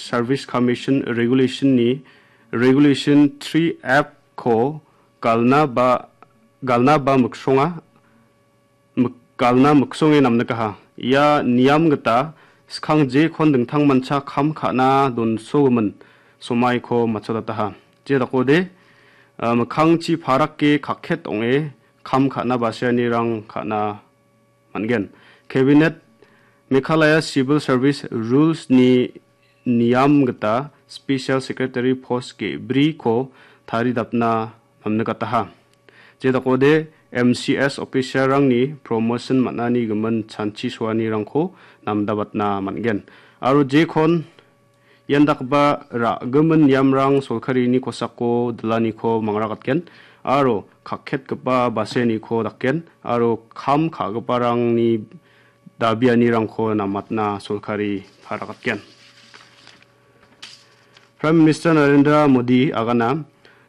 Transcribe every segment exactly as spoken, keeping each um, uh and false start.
Service Commission Regulation-ni Regulation three F-ko galna ba, galna ba miksonga, mik-, galna miksonge namnikaha. Ia niam gita skang jekon dingtangmancha kam ka·na donsogimin somaiko matchotataha. Je dakode, ah, mikkangchi parake kakket ong·e kam ka·na baseanirang ka·na man·gen. Cabinet Meghalaya Civil Service Rules-ni niam gita Special Secretary post ge·briko taridapna namnikataha. Je dakode M C S officer-rangni promotion man·ani gimin chanchi soanirangko namdabatna man·gen. Aro jekon ian dakgipa ra·gimin niamrang solkarini kosako dilaniko mangrakatgen aro kakketgipa baseniko dakgen aro kam ka·giparangni dabianirangko namatna solkari parakatgen. Prime Minister Narendra Modi agana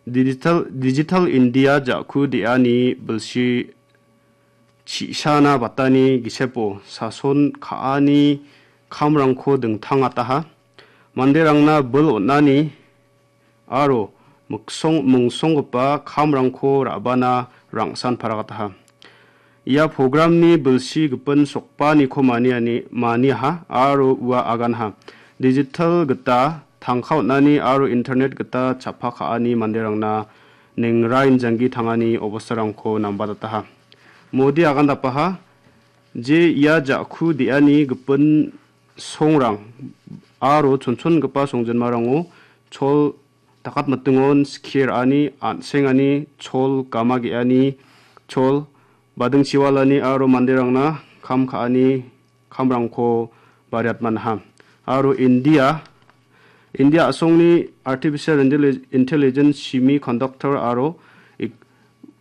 Digital, Digital India ja·ku de·ani bilsi chi·sana batani gisepo sason ka·ani kamrangko dingtangataha. Manderangna bil on·ani aro miksong-, mingsonggipa kamrangko ra·bana rangsan paragataha. Ia programni bilsi gipin sokpaniko maniani, maniaha aro ua aganha. Digital gita tangka on·ani aro internet gita chappa ka·ani manderangna ningrai janggi tangani obostarangko nambatataha. Modi agandapaha, je ia ja·ku de·ani gipin songrang aro chonchongipa songjinmarango chol dakatmitingon skie ra·ani, an·sengani, chol gama ge·ani, chol badingchiwalani aro manderangna kam ka·ani kamrangko bariatmanha. Aro India, India a·songni artificial intelli-, intelligence, semiconductor aro ik-,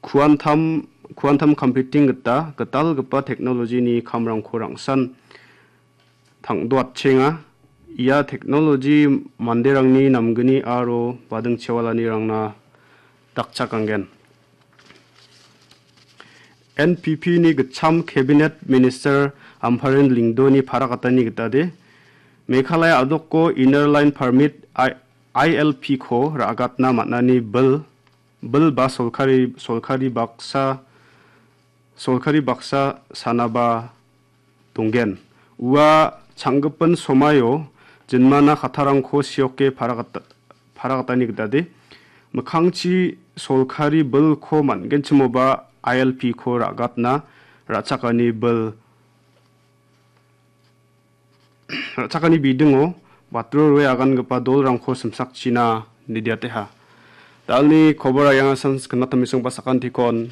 quantum, quantum computing gita gitalgipa technology-ni kamrangko rangsan tangdoatchenga. Ia technology manderangni namgni aro badingchiwalanirangna dakchakanggen. N P P-ni gitcham Cabinet Minister Ampareen Lyngdoh-ni parakatani gitade, Meghalaya a·doko Inner Line Permit I-, I L P-ko ra·gatna man·ani bil, bil ba solkari, solkari baksa, solkari baksa sanaba donggen. Ua changgipin somaio jinmana kattarangko sioke paragata-, paragatani gitade, mikkangchi solkari bilko man·genchimoba I L P-ko ra·gatna ra·chakani bil, ra·chakani bidingo batro rue agangipa dolrangko simsakchina nidiateha. Dalni kobor ayanga sans knatamisongba sakantikon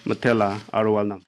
mitela aro walnam.